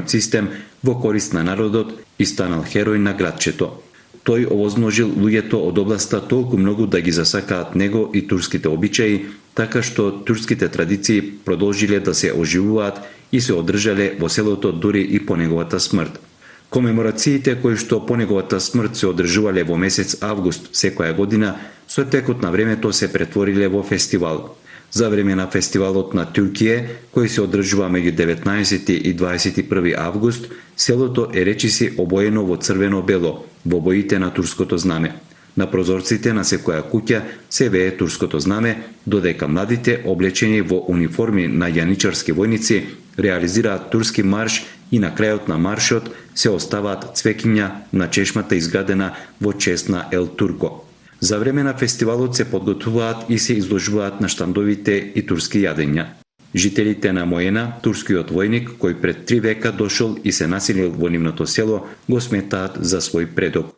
систем во корист на народот и станал херој на градчето. Тој овозможил луѓето од областа толку многу да ги засакаат него и турските обичаи, така што турските традиции продолжиле да се оживуваат и се одржале во селото дури и по неговата смрт. Комеморациите кои што по неговата смрт се одржувале во месец август секоја година, со текот на времето се претвориле во фестивал. За време на фестивалот на Туркија, кој се одржува меѓу 19 и 21 август, селото е речиси обоено во црвено-бело, во боите на турското знаме. На прозорците на секоја куќа се вее турското знаме, додека младите, облечени во униформи на јаничарски војници, реализираат турски марш и на крајот на маршот се оставаат цвеќиња на чешмата изградена во чест на Ел Турко. За време на фестивалот се подготвуваат и се изложуваат на штандовите и турски јадења. Жителите на Моена, турскиот војник кој пред 3 века дошол и се населил во нивното село, го сметаат за свој предок.